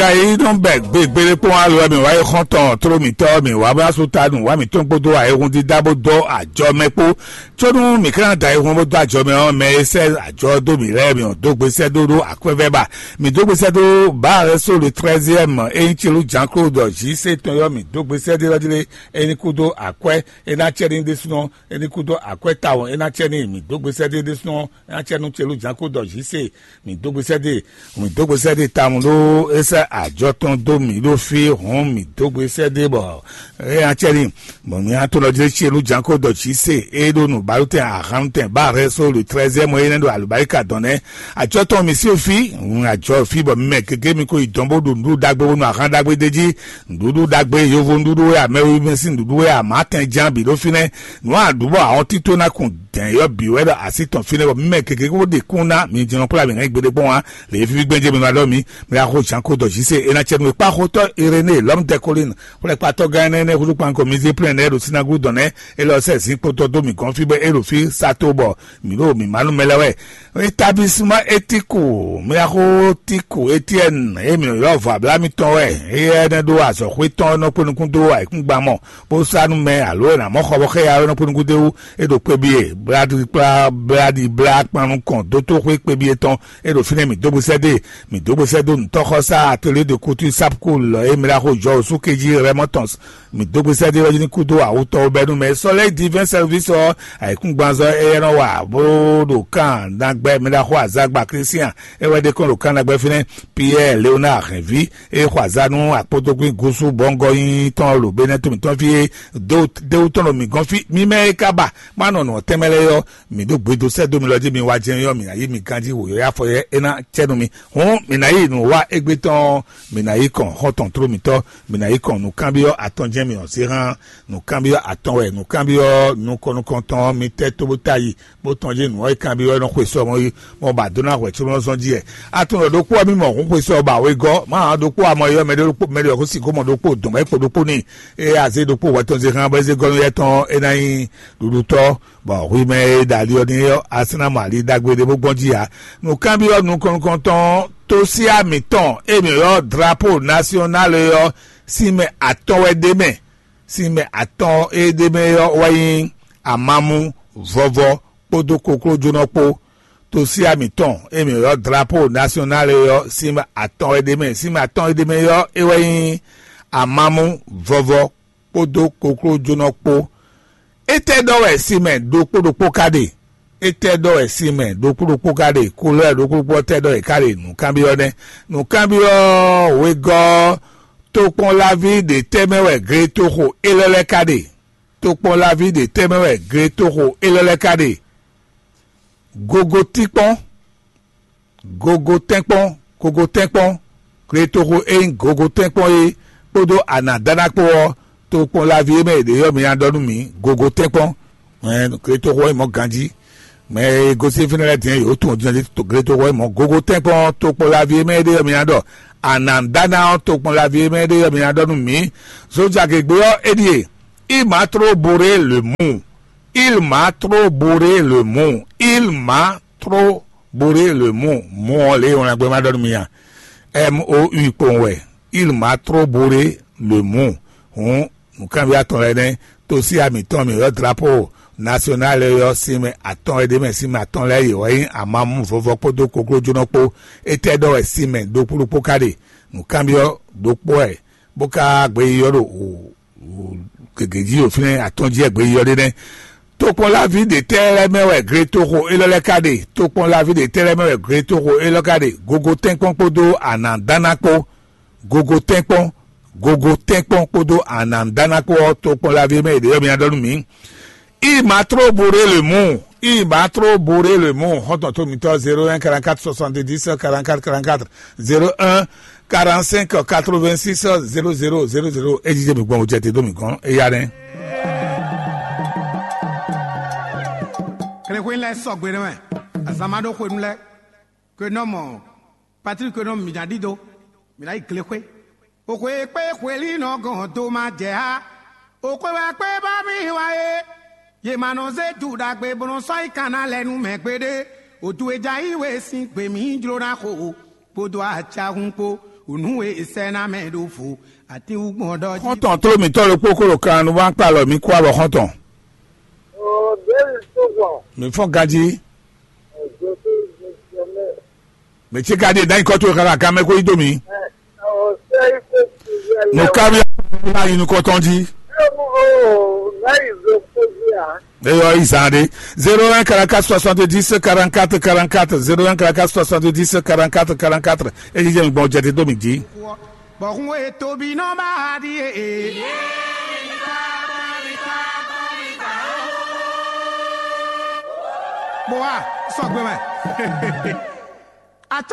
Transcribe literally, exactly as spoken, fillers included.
Ka yí nɔ bɛ gbegbe ɖé kpɔ́n alo wɛ mǐ wá yi xɔ́ntɔn tló mǐtɔn mǐ wá bó ná sú ta nǔ wá mǐtɔn kpódó ayihún dídá bó dó ajɔ mɛ kpó. Có nú mǐ ka ná da ayihún bó dó ajɔ mɛ ɔ́, mɛ e sɛ́ ajɔ dó mǐ lɛ́ɛ mǐ ɔ́ dó gbe sɛ́ dó ɖó akwɛ́vɛ́ ba. Mǐ dó gbe sɛ́ dó Baal só le trɛ́ziɛ́mɛ é nyí Celú Jǎn Klódɔ Jí sé tɔn ɔ́, mǐ dó gbe sɛ́ dó lɔ́ jí lé é ní kú dó akwɛ́ é ná cɛ ní ɖésúnɔ é ní kú dó akwɛ́ tawun é ná cɛ ní mǐ dó gbe sɛ́ dó é ɖésúnɔ é ná cɛ nú Celú Jǎn Klódɔ Jí sé. Mǐ dó gbe sɛ́ dó e, mǐ dó gbe sɛ́ dó e tawun ɖó é sɛ́ ajɔ tɔn dó mǐ ɖó fí hɔn mǐ dó gbe sɛ́ dó e bɔ é nya cɛ ní. Bɔ mǐ nya tonɔ jlé ce nú jǎnko dɔ jǐ se é ɖó nǔbálútɛn ahannutɛn bá hɛn só le trɛ́zɛ́mɔ é nɛ́ ɖo alǔbáríka dɔn nɛ́. Ajɔ tɔn mǐ sí fí, hun ajɔ fí bɔ mɛ gěgé mi ko yi dɔn bó ɖo nǔɖuɖu ɖagbe bónú ahan ɖagbe d'é jí. Nǔɖuɖu ɖagbe yovo nǔɖuɖu wɛ amɛwiví sín nǔɖuɖu wɛ amǎtɛn ján bǐ ɖó fínɛ́. Nǔ a ɖǔ bɔ ahɔn tító ná kun dɛ̌n yɔ́ bǐ wɛ ɖo así tɔn fínɛ́ bɔ mɛ gěgé kó ɖe kún ná mi jínɔ kplá mǐ hɛn gbe ɖé kpɔ́n ǎ. Lě e fífí gbɛ́njɛ mi ma ɖɔ mǐ, mi wá xo jǎnko dɔ jí se é ná cɛ nú e kpá xotɔ́ Irené lɔ̌m Dɛkolín xwlɛ́kpatɔ́ gán énɛ́ húzú kpanko mizíplɛ́n nɛ́ ɖo sínágúdɔn nɛ́ é lɔ sɛ́ zǐn kpotɔ́ dó mǐ gɔ́n fí bɔ é ɖo fí sá tó bɔ mǐ ɖo mǐ má nú mɛ lɛ́ɛ wɛ. Etablisma Etiku, mi wá xo Tiku Etiɛ́ni e mǐ ylɔ́ vɔ abla mitɔn wɛ, éyɛ́ nɛ́ ɖó azɔ̌xwé tɔn nɔ kpé nukún dó ayǐkúngban mɔ bó sá nú mɛ alo è nǎ mɔ xɔ bɔ xɛ́ ya ɔ́ nɔ kpé nukún d'é wú. É ɖo kpébyé blá kplá blá ɖi blá kpan nukɔn dótóxwé kpébyé tɔn. É ɖo fínɛ́ mǐ dó gbe sɛ́ dó e, mǐ dó gbe sɛ́ dó nǔtɔ́xɔsá atelier de couture sapkul e mǐ ɖo axo jɔ osú kejí rɛmɔtɔns. Mǐ dó gbe sɛ́ dó é wɛ ní kúdó awutɔ́ bɛ́nú mɛ sɔ́ lɛ́ divɛn sɛlvísɔ ayǐkúngbanzɔ éyɛ́ nɔ wa bó ɖo kan ɖagbɛ mǐ ɖo axo azagba Kristian é wɛ ɖe kɔn ɖo kan ɖagbɛ fínɛ́. Piyɛ́ɛ Leonáa hɛ̌nví e xɔ azǎn nú akpódógbín gúsú bɔ́ngɔ́ nyínyí tɔn ɖo Benɛ́to mǐtɔn fí é dó déwú tɔn ɖo mǐ gɔ́n fí. Mi mɛ e ka ba má nɔ nǔ ɔ́ tɛnmɛ lɛ́ɛ ɔ́, mǐ ɖó gbedo sɛ́ dó mi lɔ jí mi wá jɛ́n ɔ́, mǐ ná yí mi ganjí wǒyɔ́yá afɔ yɛ́ é ná cɛ nú mi. Hǔn mǐ ná yi nǔ wa égbé tɔn ɔ́, mǐ ná yi kɔn xɔ́ntɔn tló mǐtɔn, mǐ ná yi kɔn nǔkanbyɔ́ atɔn jɛ́n mi ɔ́ zé hán. Nǔkanbyɔ́ atɔn wɛ nǔkanbyɔ́ nukɔn nukɔntɔn ɔ́ mi tɛ́ tó bó ta yi bó tɔn jí nǔ ɔ́ e kanbyɔ́ ɔ́ nɔ xwe sɔ mɔ yi mɔ ba dó ná hwɛ̌ có nɔ zɔn jí wɛ. Atɔn ɖɔ ɖokpó ɔ́ mì mɔ hǔn xwe sɔ ba wegɔ́ má hán ɖokpó amɔ yɔ mɛ ɖokpó mɛ ɖɔ xó sixó mɔ ɖokpó dɔn bɔ é kpo ɖokpó n'i. Eye azé ɖokpó hwɛ tɔn zé hán bɔ é zé gɔ́ nú yɛ tɔn é ná nyí ɖuɖutɔ́, bɔ hwi mɛ e ɖo ali ɔ́ ní ɔ́, a sɛ́ ná mɔ ali ɖagbe ɖé bó gbɔn jí ǎ. Nǔkanbyɔ́ nukɔn nukɔntɔn ɔ́, Tosiá mǐtɔn e mǐ ylɔ́ drapo nasyɔnál é ɔ́, sinmɛ atɔn wɛ ɖ'é mɛ. Sinmɛ atɔn e ɖ'é mɛ ɔ́ wɛ nyí amamú, vɔvɔ kpódó koklójónɔ kpó. Tosiá mǐtɔn e mǐ ylɔ́ drapo nasyɔnál é ɔ́, sinmɛ atɔn wɛ ɖ'é mɛ. Sinmɛ atɔn e ɖ'é mɛ ɔ́, é wɛ nyí amamú, vɔvɔ kpódó koklójónɔ kpó. Étɛ́ ɖɔ wɛ sinmɛ ɖokpó ɖokpó ka ɖe? Étɛ́ ɖɔ wɛ sinmɛ ɖokpó ɖokpó ka ɖe? Kolɔ́ɛ ɖokpó ɖokpó ɔ́ tɛ́ ɖɔ è ka ɖe? Nǔkanbyɔ́ nɛ́. Nǔkanbyɔ́ wegɔ́ ɔ́, tokpɔnlaví ɖě tɛ́ mɛ wɛ gletoxo élɔ́ lɛ́ɛ ka ɖe? Tokpɔnlaví ɖě tɛ́ mɛ wɛ gletoxo élɔ́ lɛ́ɛ ka ɖe? Gogotínkpɔ́n, gogotɛ́nkpɔ́n, gogotɛ́nkpɔ́n, gletoxo e nyí gogotɛ́nkpɔ́n é kpódó anǎdáná kpó ɔ́, tokpɔnlaví e mɛ è ɖě ɔ́ mi ná ɖɔ nú mǐ, gogotɛ́nkpɔ́n. Gletoxo ɔ́ nyí mɔ̌ ganjí. Mɛ e gosín fínɛ́ lɛ́ɛ din ɔ́, yě wǒ tunwun din ɔ́ ɖi gletoxo ɔ́ nyí mɔ̌. Gogotɛ́nkpɔ́n tokpɔnlaví e mɛ é ɖě ɔ́ mi ná ɖɔ anǎdáná ɔ́, tokpɔnlaví e mɛ é ɖě ɔ́ mi ná ɖɔ nú mǐ. Zojagěgbé ɔ́, é ɖíe: Il m'a trop bourré le mou. Il m'a trop bourré le mou. Il m'a trop bourré le mou. Mou ɔ́ lě e wlɛngbɛ ma ɖɔ nú mi a? M O U kpowun wɛ. Il m'a trop bourré le mou. Hǔn nǔkanbyɔ́ atɔn lɛ́ɛ nɛ́. Tosiá mǐtɔn mǐ ylɔ́ drapo nasyɔnál lɛ́ɛ ɔ́, sinmɛ atɔn e ɖ'é mɛ sinmɛ atɔn lɛ́ɛ yě wɛ nyí amamú, vɔvɔ kpódó koklójónɔ kpó. Étɛ́ ɖɔ wɛ sinmɛ ɖokpó ɖokpó ka ɖe? Nǔkanbyɔ́ ɖokpó wɛ bó ka gbeyíyɔ́ ɖo gěgé jí ɖo fínɛ́ atɔ́n jí wɛ gbeyíyɔ́ ɖe nɛ́. Tokpɔnlaví ɖě tɛ́ lɛ́ɛ mɛ wɛ gletoxo élɔ́ lɛ́ɛ ka ɖe? Tokpɔnlaví ɖě tɛ́ lɛ́ɛ mɛ wɛ gletoxo élɔ́ ka ɖe? Gogotɛ́nkpɔ́n kpódó anǎdáná kpó. Gogotɛ́nkpɔ́n, gogotɛ́nkpɔ́n kpódó anǎdáná kpó ɔ́, tokpɔnlaví e mɛ è ɖě ɔ́ mi ná ɖɔ nú mǐ. Il m'a trop bourré le mou. Il m'a trop bourré le mou. Xɔ́ntɔn tó mǐtɔn zéro un quarante-quatre soixante-dix quarante-quatre quarante-quatre, zéro un quarante-cinq quatre-vingt-six zéro zéro zéro zéro. É jí jɛ mi gbɔn o jɛ te dó mi gɔn. Éya nɛ́. Klexwe lɛ sɔgbe ɖe mɛ. Azama ɖo xwenu lɛ. Ke nɔ mɔ Patrik nɔ mǐ ná ɖidó. Mǐ ná yi glexwe. Oxwe kpé xwelínɔ gɔn dó má jɛ á. Oxwe wɛ kpé bá mì wá é. Yě ma nɔ zé ju ɖagbe bó nɔ sɔ́ yi kanna lɛ nú mɛ gbeɖé. Odu e ja yí we sín gbe mǐ jló ná xo, kpódó acahun kpó. Nǔ e è sɛ́ ná mɛ ɖo vo, atín wú gbɔn ɖɔ jí. Xɔ́ntɔn tló mǐtɔn ɖokpó kó ɖo kan nu wá kpá alɔ mǐ kú abɔ xɔ́ntɔn. Ɔɔ, bɛ́ni tó gbɔn. Mǐ fɔ́n ganjí. Ɛ̀jẹ̀ tó yẹ jẹ mẹ́. Mǐ cí ka ɖíe dǎnyi kɔ́ towe xá kan mɛ kó yí dó mǐ. Ɔɔ, sẹ́yìn tó ti yẹ lẹ́wọ̀. Nǔkábíyá ná yi nukɔn tɔn jí. Ɔɔ, ná yi zo kó jí à. Eyɔ, izan ɖe. Zéro un quarante-quatre soixante-dix quarante-quatre quarante-quatre, zéro un quarante-quatre soixante-dix quarante-quatre quarante-quatre. Eyi jɛ mi gbɔn jɛ te dó mi jí. Bɔkun e tobi nɔ ba ɖi e. Bɔ wa sɔgbe mɛ. Ata